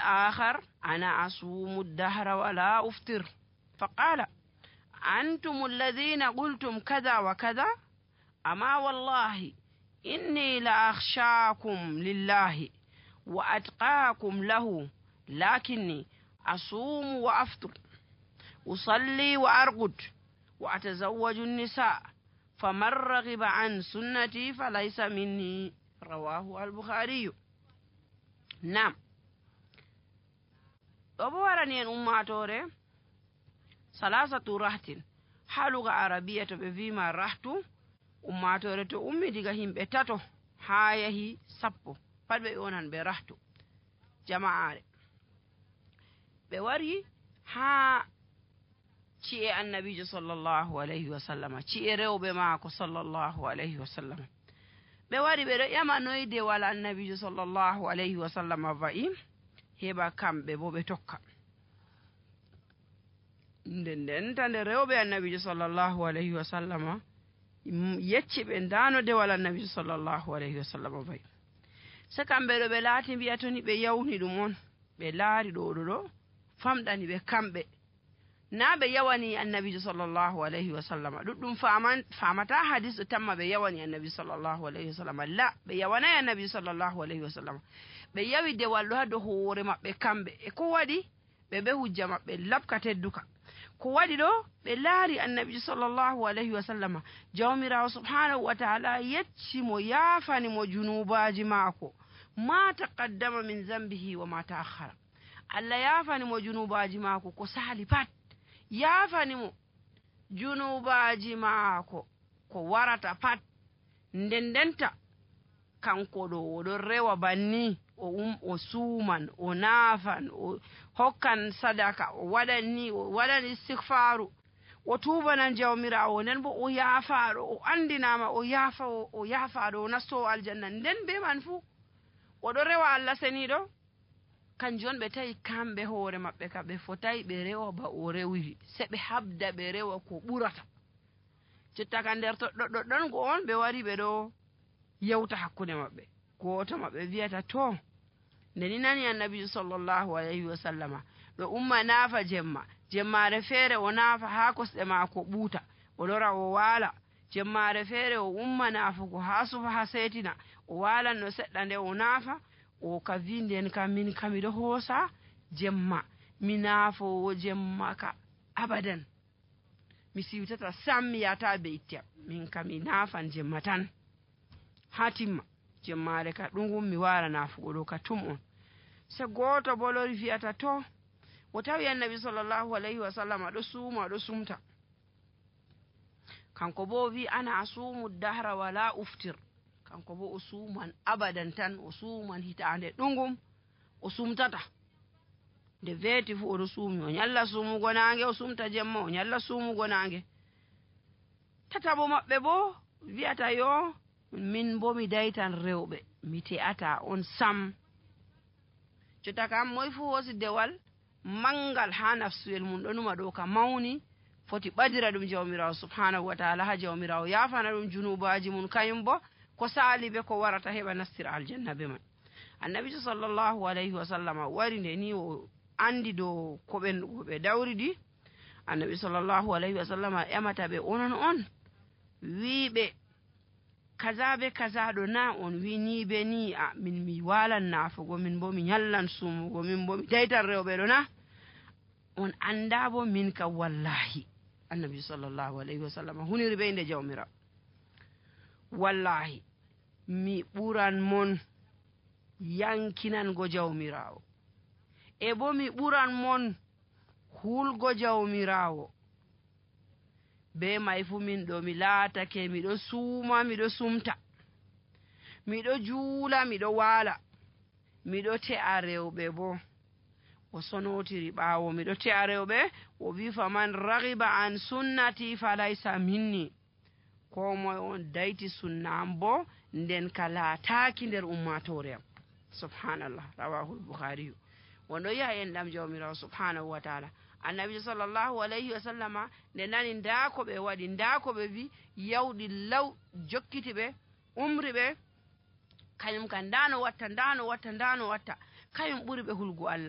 الآخر أنا أصوم الدهر ولا أفطر. فقال أنتم الذين قلتم كذا وكذا؟ أما والله إني لأخشاكم لله وأتقاكم له، لكني أصوم وأفطر، أصلي وأرقد، وأتزوج النساء، فمن رغب عن سنتي فليس مني. رواه البخاري. نعم. أبوارني أن أماتوري ثلاثة رهط حالوغا عربية بفيما رهط أماتوري تو أمي ديغا همبه تاتو هايهي سبو pat ɓe yonan ɓe rahtu jama'are. ɓe wari ha ci'e annabijo sallallahu alayhi wa sallama, ci'e rewɓe maako sallallahu alayhi wa sallama. ɓe wari ɓe ɗo ƴama noyde wala annabijo sallallahu alayhi wa sallama wa'i, heɓa kamɓe bo ɓe tokka. nden tande rewɓe annabijo sallallahu alayhi wa sallama yecci ɓe ndanode wala annabijo sallallahu alayhi wa sallama wa'i. se kamɓe ɗo ɓe laati mbiya to ni ɓe yawni ɗum on, ɓe laari ɗo famɗani ɓe kamɓe, na ɓe yawani annabijo sallallahu alayhi wa sallama. ɗuɗɗum famata hadis ɗo tamma ɓe yawani annabi sallallahu alayhi wa sallama. la, ɓe yawanayi annabi sallallahu alayhi wa sallama, ɓe yawi dewal ɗo ha dow hoore maɓɓe kamɓe. e ko waɗi? ɓe ɓe hujja maɓɓe labka tedduka. ko waɗi ɗo? ɓe laari annabijo sallallahu alayhi wa sallama, jawmirawo subhanahu wa taala yecci mo yaafani mo junubaji maako, ma taqaddama min zambihi wa ma ta'akhkhara. Allah yaafani mo junubaji maako ko sali pat, yaafani mo junubaji maako ko warata pat. ndendenta kanko ɗo oɗon rewa banni, o suuman, o naafan, o hokkan sadaka, o waɗan istighfaru, o tubanan jawmirawo, nden bo o yaafaɗo, o andinama o yaafaɗo, o nastowo aljanna. nden be man fuu oɗo rewa Allah seniɗo. kanjum ɓe tawi kamɓe hoore maɓɓe ka ɓe fotayi ɓe rewa ba o rewiri, se ɓe habda ɓe rewa ko ɓurata. jotta ka nder toɗɗoɗɗo ɗon go on ɓe wari ɓe ɗo yewta hakkude maɓɓe. goto maɓɓe wiyata to ndeni nani annabijo sallallahu alayhi wa sallama ɗo umma naafa jemmare feere o naafa ha kosɗe maako ɓuuta, o lora o waala. jemmare feere o umma naafugo ha sufa ha seetina, o waalan no seɗɗa nde o naafa. o ka wi nden kam min kamiɗo hoosa jemma, mi naafowo jemma ka abadan, mi siwtata sam mi yata be ittiyam, min kam mi naafan jemma tan ha timma. jemmare ka ɗum mi wara naafugo ɗo ka tum on. se goto bo lori fiyata to o tawi annabi sallallahu alayhi wa sallam ɗo suuma ɗo sumta, kanko bo wi ana asumu dahra wala uftir. kanko bo o suuman abadan tan, o suuman hitande ɗungum, o sumtata. nde weeti fu oɗo suumi, o ñalla suumugo nange, o sumta jemma, o ñalla suumugo nange. tatabo maɓɓe bo wiyata yo min bo mi daytan rewɓe, mi te'ata on sam. jotta kam moy fu hosi dewal mangal ha nafsuwel mum ɗo numa ɗo ka mawni, foti ɓadira ɗum jawmirawo subhanahu wa taala, ha jawmirawo yafana ɗum junubaji mum, kañum bo ko saali be ko warata heɓa nastira aljanna be man. annabijo sallallahu alayhi wa sallama wari nde ni o andi dow ko ɓe dawridi. annabi sallallahu alayhi wa sallama ƴamata ɓe onon on wiɓe kaza be kaza ɗo na, on wi ni be ni, a min mi walan naafugo, min bo mi ñallan sumugo, min bo mi daytan rewɓe ɗo na, on anda bo min ka wallahi. annabi sallallahu alayhi wa sallama huniri ɓe nde jawmira, wallahi mi ɓuran mon yankinango jawmirawo, e bo mi ɓuran mon hulgo jawmirawo. be may fu min ɗo mi laatake miɗo suuma, miɗo sumta, miɗo juula, miɗo waala, miɗo te'a rewɓe bo. o sonotiri ɓaawo, miɗo te'a rewɓe. o wi faman ragiba an sunnati falaysa minni, ko moye on dayti sunna am bo nden ka laataaki nder ummatore am. subhanallah, rawahul bukhariyu. wonɗo yi'a en ɗam jawmirawo subhanahu wa taala. annabi sallallahu alayhi wa sallama nde nani nda ko ɓe waɗi, nda ko ɓe wi, yawɗi law jokkiti ɓe, umri ɓe, kañum kan ndano watta kañum ɓuri ɓe hulgu Allah.